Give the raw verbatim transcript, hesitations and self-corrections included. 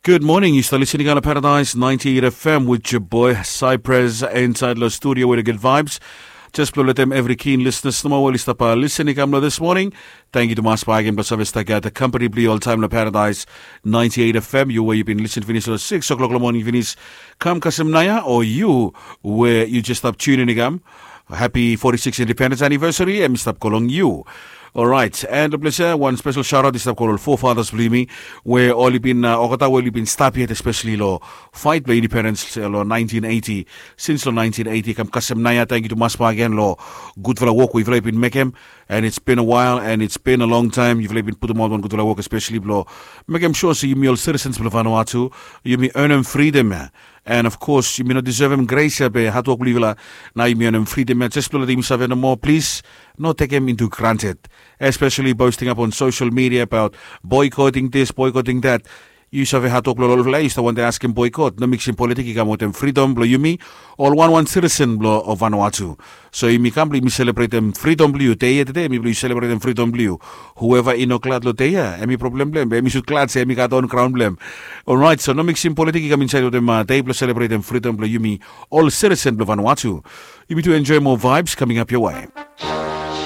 Good morning. Yu stap listening on Paradise ninety-eight F M with your boy Cypress inside lo studio with a good vibes. Just blong letem evri keen listeners nomo we oli stap listening kam lo this morning. Thank you tumas bak again blong save stap gat company blong yu oltaem lo Paradise ninety-eight F M. Yu we yu bin listen finis lo six o'clock lo morning finis. Kam kasem naoia o yu we yu just stap tune in kam. Happy forty-six independence anniversary em i stap go long yu. Orait, and lo ples ya wan spesel shout out i stap go lo ol forefathers blong yumi we oli bin uh, olgeta we oli bin stap yet especially lo fight blong independence lo nineteen eighty. Since lo nineteen eighty kam kasem naoia, thank you tumas bak again lo gudfala wok we yufala i bin mekem. And it's been a while and it's been a long time yufala i bin putumaot wan gudfala wok especially blong mekem sure se yumi ol citizens blong Vanuatu yumi earnem freedom ya. And of course yumi no deservem grace ya be hatwok blong yufala. Nao yumi earnem freedom ya, just blong letem yumi save nomo, please no tekem into granted. Especially posting up on social media about boycotting this, boycotting that. Yu save hatwok blong olfala yu stap wantem askem boycott. No miksim politik i kam wetem freedom blong yumi ol wanwan citizen blong Vanuatu. So yumi kam blong yumi selebretem freedom blong yu dei ya tede, yumi blong yu selebretem freedom blong yu. Whoever i no glad lo dei ya em i problem blong em, be em i sud glad se em i gat on graon blong em. Orait, so no miksim politik i kam insaed wetem uh, dei blong selebretem freedom blong yumi ol citizen blong Vanuatu. Yumi tu enjoy more vibes coming up your way.